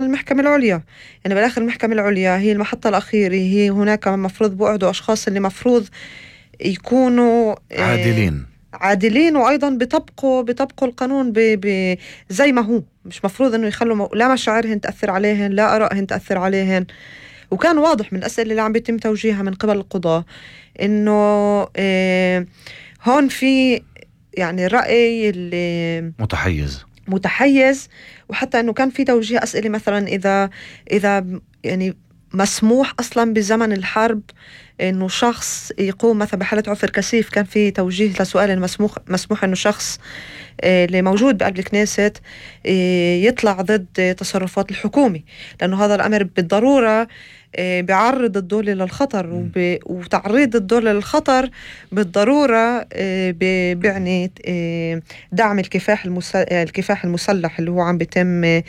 المحكمة العليا. يعني بالآخر المحكمة العليا هي المحطة الأخيرة، هي هناك مفروض بقعدوا أشخاص اللي مفروض يكونوا عادلين وأيضا بيطبقوا القانون زي ما هو. مش مفروض إنه يخلوا لا مشاعرهن تأثر عليهن، لا آرائهن تأثر عليهن. وكان واضح من الأسئلة اللي عم بيتم توجيهها من قبل القضاء إنه هون في يعني رأي اللي متحيز. وحتى إنه كان في توجيه أسئلة مثلا إذا يعني مسموح أصلا بزمن الحرب إنه شخص يقوم مثلا بحالة عفر كثيف. كان في توجيه لسؤال مسموح إنه شخص اللي موجود بقلب الكنيست يطلع ضد تصرفات الحكومة، لأنه هذا الأمر بالضرورة بيعرض الدولة للخطر، وتعريض الدولة للخطر بالضرورة بيعني دعم الكفاح المسلح اللي هو عم بيتم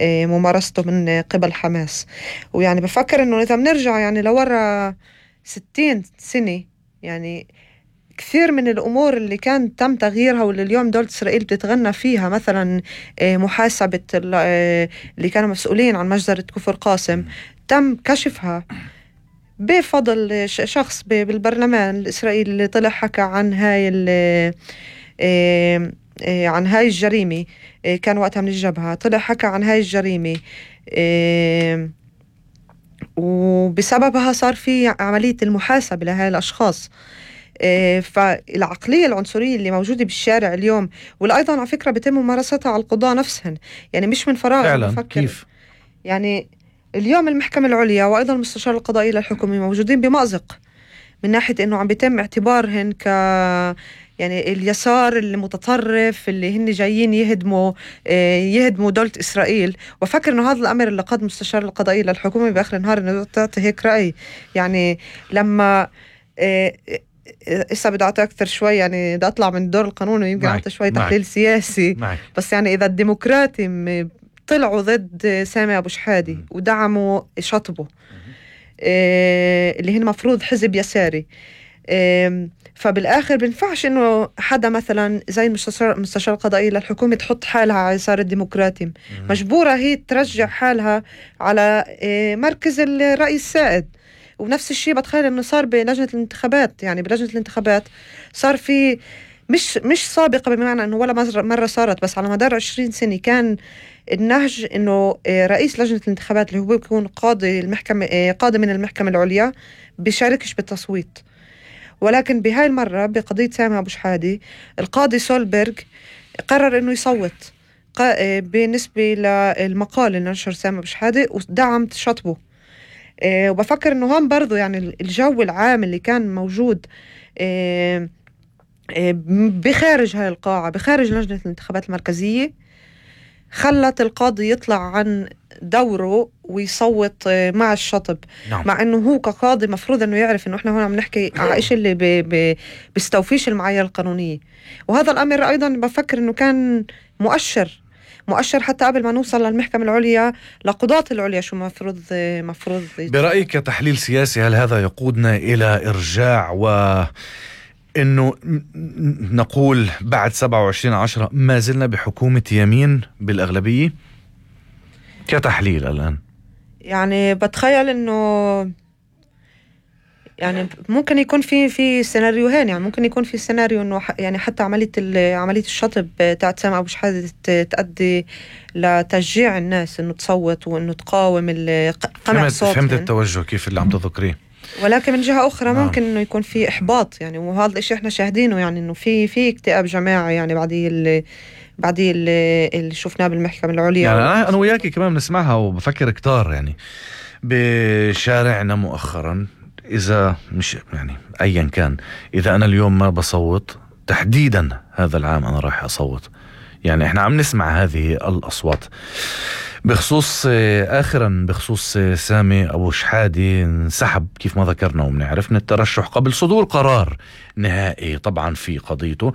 ممارسته من قبل حماس. ويعني بفكر إنه إذا بنرجع يعني لورا 60 سنة، يعني كثير من الأمور اللي كان تم تغييرها واللي اليوم دولة إسرائيل بتتغنى فيها، مثلا محاسبة اللي كانوا مسؤولين عن مجزرة كفر قاسم، تم كشفها بفضل شخص بالبرلمان الإسرائيلي اللي طلع حكى عن هاي الجريمة. كان وقتها من الجبهة، طلع حكى عن هاي الجريمة، وبسببها صار في عملية المحاسبة لهاي الأشخاص. فالعقلية العنصرية اللي موجودة بالشارع اليوم، واللي أيضا على فكرة بيتم ممارستها على القضاء نفسهم، يعني مش من فراغ. فعلا كيف يعني اليوم المحكمة العليا وأيضا المستشار القضائي للحكومة موجودين بمأزق من ناحية إنه عم بيتم اعتبارهن يعني اليسار المتطرف اللي هن جايين يهدموا دولة إسرائيل. وفكر إنه هذا الأمر اللي قد مستشار القضائي للحكومة بآخر النهار إنه تعطي هيك رأي. يعني لما إسا بدي أعطي أكثر شوي، يعني بدي أطلع من الدور القانوني ويمكن أعطي شوي تحليل سياسي بس يعني إذا الديمقراطي طلعوا ضد سامي أبو شحادي ودعموا شطبه اللي هن مفروض حزب يساري، فبالآخر بنفعش إنه حدا مثلا زي المستشار القضائي للحكومة تحط حالها على يسار الديمقراطي. مجبورة هي ترجع حالها على مركز الرأي السائد. ونفس الشيء بتخيل إنه صار بلجنة الانتخابات. يعني بلجنة الانتخابات صار في مش سابقة بمعنى إنه ولا مرة صارت، بس على مدار 20 سنة كان النهج إنه رئيس لجنة الانتخابات اللي هو بيكون قاضي من المحكمة العليا بيشاركش بالتصويت. ولكن بهاي المرة بقضية سامي أبو شحادي القاضي سولبرغ قرر إنه يصوت بالنسبة للمقال اللي نشر سامي أبو شحادي ودعم شطبه. وبفكر إنه هون برضو يعني الجو العام اللي كان موجود بخارج هاي القاعة، بخارج لجنة الانتخابات المركزية، خلت القاضي يطلع عن دوره ويصوت مع الشطب. مع انه هو كقاضي مفروض انه يعرف انه احنا هون عم نحكي على شيء اللي بيستوفيش المعايير القانونية. وهذا الامر ايضا بفكر انه كان مؤشر حتى قبل ما نوصل للمحكمة العليا لقضاة العليا شو مفروض برأيك كتحليل سياسي، هل هذا يقودنا إلى إرجاع إنه نقول بعد 27/10 ما زلنا بحكومة يمين بالأغلبية كتحليل الآن؟ يعني بتخيل إنه يعني ممكن يكون في سيناريوهين. يعني ممكن يكون في سيناريو إنه يعني حتى عملية الشطب تاعت سامي أبو شحادة تؤدي لتشجيع الناس إنه تصوت وإنه تقاوم قمع صوت. فهمت التوجه كيف اللي عم تذكريه. ولكن من جهة أخرى ممكن إنه يكون في إحباط. يعني وهذا الشيء إحنا شاهدينه، يعني إنه في اكتئاب جماعي يعني بعد اللي شفناه بالمحكمة العليا. يعني أنا وياكي كمان بنسمعها وبفكر كتار يعني بشارعنا مؤخرا. إذا مش يعني أيا كان، إذا أنا اليوم ما بصوت تحديدا هذا العام أنا راح أصوت. يعني إحنا عم نسمع هذه الأصوات بخصوص بخصوص سامي أبو شحادي انسحب كيف ما ذكرنا وبنعرف من الترشح قبل صدور قرار نهائي طبعا في قضيته.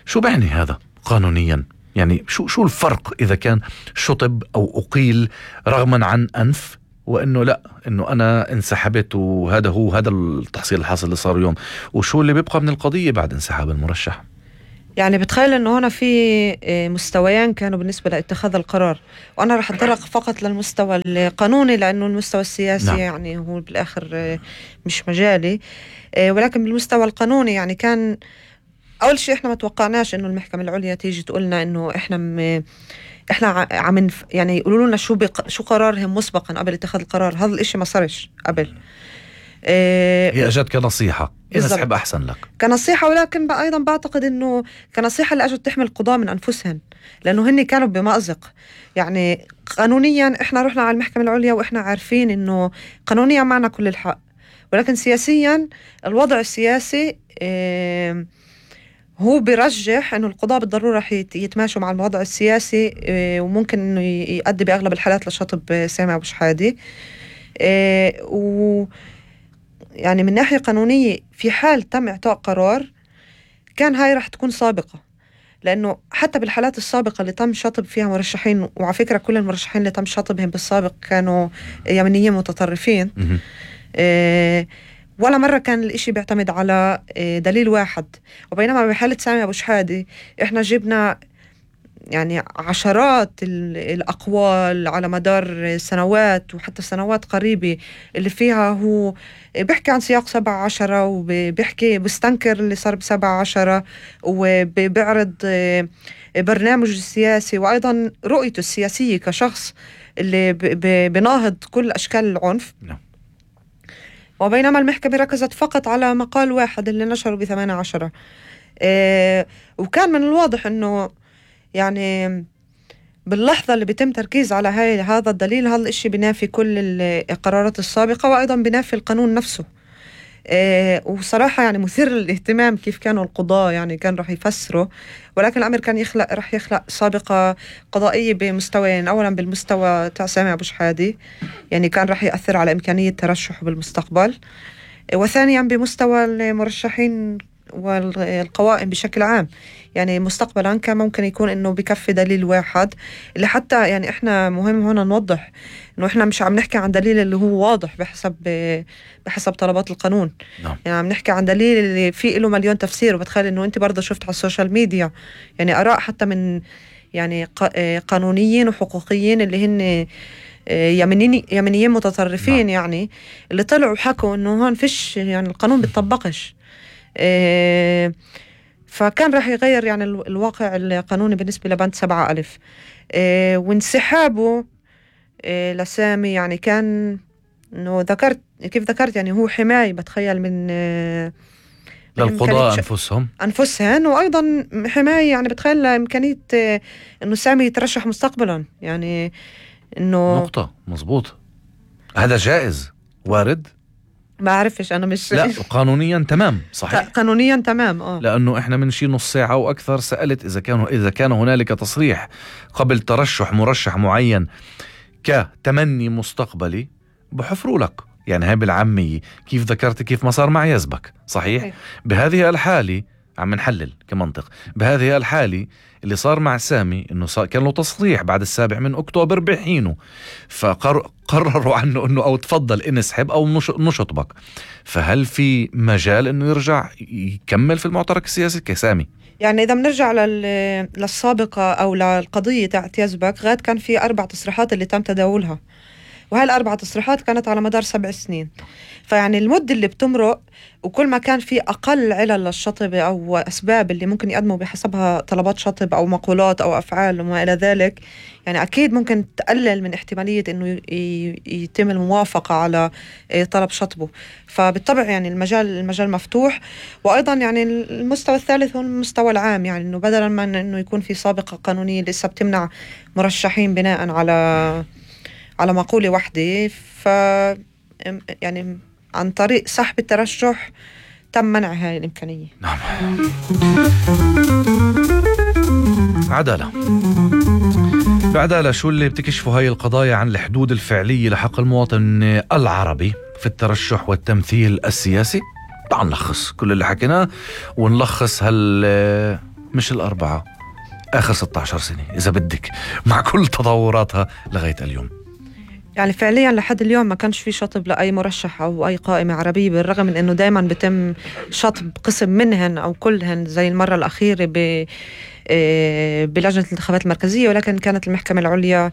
شو بعني هذا قانونيا؟ يعني شو الفرق إذا كان شطب أو أقيل رغما عن أنف، وإنه لا إنه أنا انسحبت وهذا التحصيل الحاصل اللي صار اليوم، وشو اللي بيبقى من القضية بعد انسحاب المرشح؟ يعني بتخيل انه هنا في مستويين كانوا بالنسبة لاتخاذ القرار، وانا رح اتطرق فقط للمستوى القانوني لانه المستوى السياسي نعم. يعني هو بالاخر مش مجالي، ولكن بالمستوى القانوني يعني كان اول شيء احنا ما توقعناش انه المحكمة العليا تيجي تقولنا انه احنا عم يعني يقولوا لنا شو قرارهم مسبقا قبل اتخاذ القرار. هذا الاشي ما صارش قبل. هي اجت كنصيحة ينسحب احسن لك كنصيحة، ولكن ايضا بعتقد انه كنصيحة اللي اجت تحمي القضاة من انفسهم، لانه هن كانوا بمأزق. يعني قانونيا احنا رحنا على المحكمة العليا واحنا عارفين انه قانونيا معنا كل الحق، ولكن سياسيا الوضع السياسي هو بيرجح انه القضاء بالضرورة رح يتماشوا مع الوضع السياسي، وممكن انه يؤدي باغلب الحالات لشطب سامي أبو شحادة. و يعني من ناحية قانونية في حال تم إعطاء قرار كان هاي رح تكون سابقة، لأنه حتى بالحالات السابقة اللي تم شطب فيها مرشحين، وعلى فكرة كل المرشحين اللي تم شطبهم بالسابق كانوا يمنيين متطرفين، ولا مرة كان الإشي بيعتمد على دليل واحد. وبينما بحالة سامي أبو شحادة إحنا جبنا يعني عشرات الأقوال على مدار سنوات وحتى سنوات قريبة اللي فيها هو بيحكي عن سياق 17 وبيحكي بستنكر اللي صار ب17 وبيعرض برنامجه السياسي وأيضا رؤيته السياسية كشخص اللي بناهض كل أشكال العنف. وبينما المحكمة ركزت فقط على مقال واحد اللي نشره ب18. وكان من الواضح أنه يعني باللحظة اللي بيتم تركيز على هذا الدليل، هذا الاشي بينافي كل القرارات السابقة وأيضا بينافي القانون نفسه. وصراحة يعني مثير للاهتمام كيف كانوا القضاة يعني كان رح يفسروا، ولكن الأمر كان رح يخلق سابقة قضائية بمستويين. أولا بالمستوى تاع سامي أبو شحادة، يعني كان رح يأثر على إمكانية ترشحه بالمستقبل، وثانيا بمستوى المرشحين والقوائم بشكل عام. يعني مستقبلا كان ممكن يكون انه بكفي دليل واحد، اللي حتى يعني احنا مهم هنا نوضح انه احنا مش عم نحكي عن دليل اللي هو واضح بحسب طلبات القانون. يعني عم نحكي عن دليل اللي فيه له مليون تفسير. وبتخيل انه انت برضه شفت على السوشيال ميديا يعني اراء حتى من يعني قانونيين وحقوقيين اللي هن يمنيين متطرفين، يعني اللي طلعوا وحكوا انه هون فيش يعني القانون بيتطبقش. فكان راح يغير يعني الواقع القانوني بالنسبة لبند 7,000. وانسحابه لسامي يعني كان انه كيف ذكرت يعني هو حماية بتخيل من للقضاء أنفسهم، وأيضا حماية يعني بتخيل إمكانية انه سامي يترشح مستقبلا. يعني انه نقطة مزبوط، هذا جائز وارد، ما أعرفش أنا مش لا قانونيا تمام صحيح، قانونيا تمام. لأنه إحنا من شي نص ساعة وأكثر سألت إذا كان هنالك تصريح قبل ترشح مرشح معين كتمني مستقبلي بحفروا لك. يعني هاي بالعامية كيف ذكرت كيف ما صار مع يزبك صحيح. بهذه الحالة عم نحلل كمنطق، بهذه الحالة اللي صار مع سامي انه كان له تصريح بعد 7 أكتوبر بحينه، فقرروا عنه انه او تفضل انسحب او نشطبك. فهل في مجال انه يرجع يكمل في المعترك السياسي كسامي؟ يعني إذا بنرجع للسابقة أو للقضية تاعت يزبك، غاد كان في 4 تصريحات اللي تم تداولها، وهي ال4 تصريحات كانت على مدار 7 سنين. فيعني المدة اللي بتمرق وكل ما كان في أقل علل للشطب أو أسباب اللي ممكن يقدموا بحسبها طلبات شطب أو مقولات أو أفعال وما إلى ذلك، يعني أكيد ممكن تقلل من احتمالية إنه يتم الموافقة على طلب شطبه. فبالطبع يعني المجال مفتوح. وأيضا يعني المستوى الثالث هو المستوى العام، يعني إنه بدلا من إنه يكون في سابقة قانونية لسه بتمنع مرشحين بناء على مقولة واحدة، يعني عن طريق سحب الترشح تم منع هاي الإمكانية. نعم. عدالة بعدالة، شو اللي بتكشفوا هاي القضايا عن الحدود الفعلية لحق المواطن العربي في الترشح والتمثيل السياسي؟ تعال نلخص كل اللي حكيناه ونلخص مش 4 آخر 16 سنة إذا بدك مع كل تطوراتها لغاية اليوم. يعني فعليا لحد اليوم ما كانش في شطب لأي مرشح أو أي قائمة عربية، بالرغم من أنه دايما بتم شطب قسم منهن أو كلهن زي المرة الأخيرة بلجنة الانتخابات المركزية، ولكن كانت المحكمة العليا